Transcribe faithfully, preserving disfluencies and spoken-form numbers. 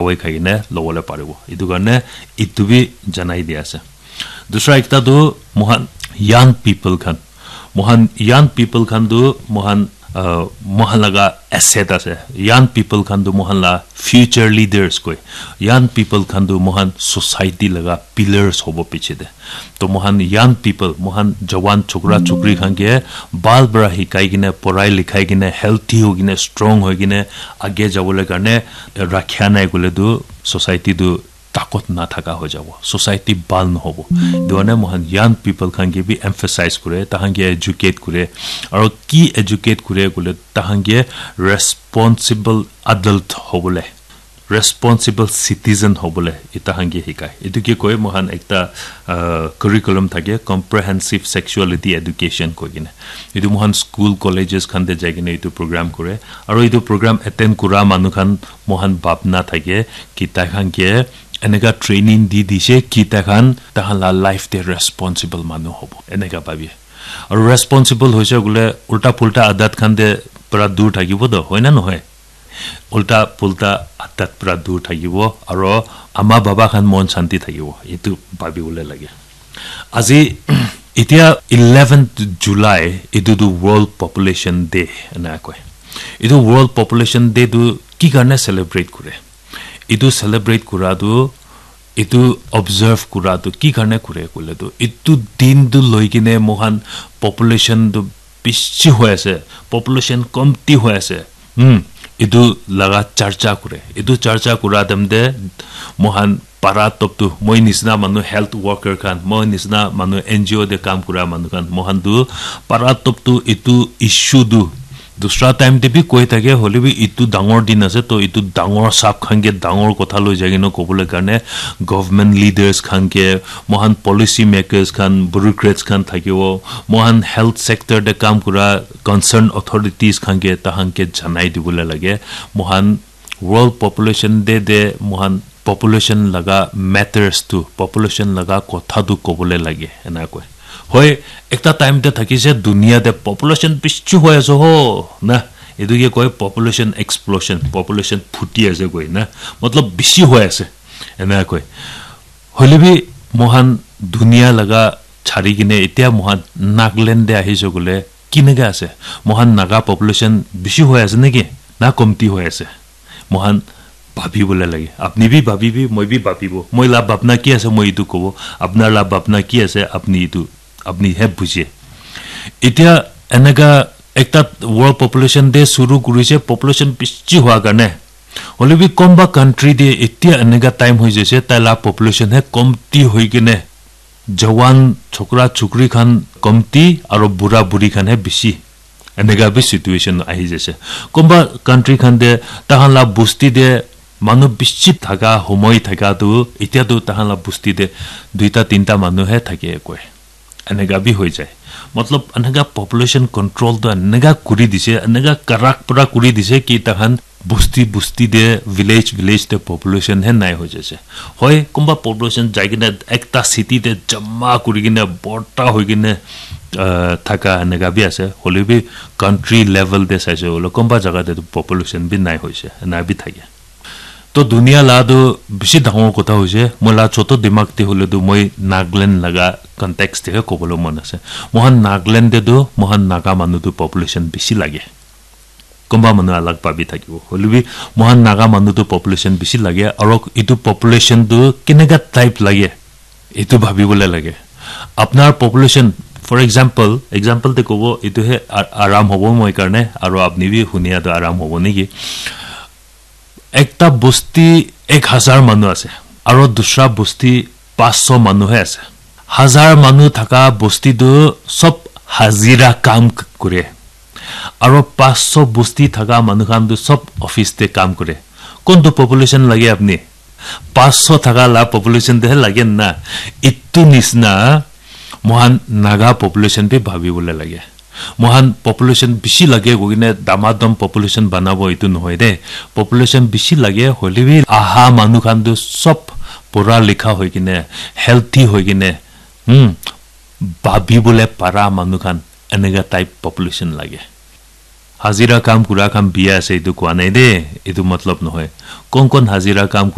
dawai khai kene lobole paribo. Etu karne etu bi janai di ase. Dusra ekta tu mohan young people khan, mohan young people khan tu mohan, uh, mohan laga asset ase. Young people khan tu mohan la future leaders koi. Young people khan tu mohan society laga pillars hobo piche de. To mohan young people, mohan jawan chokra chokri khan ke bal para hikai kene, porai likhai kene, healthy hoi kene, strong hoi kene age jabole karne rakhia nai kole tu society tu takot na thaka hoi jabo, society bal no hobo. Etu karne mohan young people khan ke bi emphasize kore, tahan ke educate kore, aro ki educate kore kole tahan ke responsible adult hobole, responsible citizen hobole eta han ke hikai. Etu ke koi mohan ekta, uh, curriculum thake, comprehensive sexuality education koi kene. Etu mohan school, colleges khan te jai kene etu program kore. Aro etu program attend kura manu khan mohan bhabna thake ki tai khan ke eneka training di dise ki tai khan tahan la life te responsible manu hobo. Eneka bhabi. Aro responsible hoise kole ulta pulta adat khan te para dur thakibo to, hoi na nohoi? Ulta pulta adat para dur thakibo, aro ama baba khan mon shanti thakibo. Etu bhabi bole lage. Aji, etia eleventh July, etu tu World Population Day ena koi. Etu World Population Day tu ki karne celebrate kore? Etu celebrate kura tu, etu observe kura tu ki karne kure kole tu, etu din tu loi kene mohan population tu bishi hoi ase, population komti hoi ase. Hmm, etu laga charcha kure. Etu charcha kura time te mohan para top tu, moi nisna manu health worker khan, moi nisna manu N G O te kam kura manu khan, mohan tu para top tu etu issue tu dusra time te bi koi thake, hoile bi etu dangor din ase, to etu dangor sab khan ke dangor kotha loi jai kena kobole karne government leaders khan ke, mohan policy makers khan, bureaucrats khan thakibo, mohan health sector te kam kura concerned authorities khan ke, tahan ke janai dibole lage. Mohan World Population Day te mohan population laga matters tu, population laga kotha tu kobole lage, ena koi. Hoi, ekta time te thakise dunia te population bishi hoi ase ho, na? Etu ke koi population explosion, population phuti ase koi na, matlab bishi hoi ase, ena koi. Hoile bi mohan dunia laga chari kene etia mohan Nagaland te ahise kole kineka ase? Mohan Naga population bishi hoi ase neki na komti hoi ase? Mohan bhabi bole lage. Apni bi bhabibi, moi bi bhabibo. Moi la bhabna ki ase, moi etu kobo. Apnar la bhabna ki ase, apni etu, apni he bujhe. Etia eneka ekta World Population Day shuru kurise, population bishi hua karne. Hoile bi konba country te etia eneka time hoi jaise, tai la population he komti hoi kene jawan chokra chokri khan komti aro bura buri khan he bishi. Eneka bi situation ahi jaise. Konba country khan te tahan la bosti te manu bishi thaka, homoi thaka tu, etia tu tahan la bosti te duita tinta manu he thake koi. Eneka bi hoi jai. Matlab, eneka population control tu eneka kuri dise, eneka karak pura kuri dise ki tahan bosti bosti te, village village te population he nai hoi jaise. Hoi, konba population jai kena ekta city te jama kuri kena borta hoi kena, uh, thaka eneka bi ase. Hoile bi country level te saise hoile konba jaga te tu population bi nai hoise, ena bi thake. To dunia la tu bishi dangor kotha hoise. Moi la choto dimag te hoile tu moi Nagaland laga context te he kobole mon ase. Mohan Nagaland te tu mohan Naga manu tu population bishi lage. Konba manu alag bhabi thakibo. Hoile bi mohan Naga manu tu population bishi lage. Aro etu population tu keneka type lage, etu bhabi bole lage. Apnar population, for example, example te kobo, etu he a-, aram hobo moi karne, aro apni bi hunia tu aram hobo neki. Ekta bosti ek hazar manu ase, aro dusra bosti panch sho manu he ase. Hazar manu thaka bosti tu sob hazira kam k-, kure. Aro panch sho bosti thaka manu khan tu sob office te kam kure. Kontu population lage apni? Panch sho thaka la population te he lage na. Itu nisna mohan Naga population bi bhabi bole lage. Mohan population bishi lage koi kene damadam population banabo itu nohoi de. Population bishi lage hoile bi aha manu khan tu sob pura likha hoi kene, healthy hoi kene, hmm, bhabi bole para manu khan eneka type population lage. Hajira kam kura khan biya ase etu koa nai de, etu matlab nohoi. Kon kon hajira kam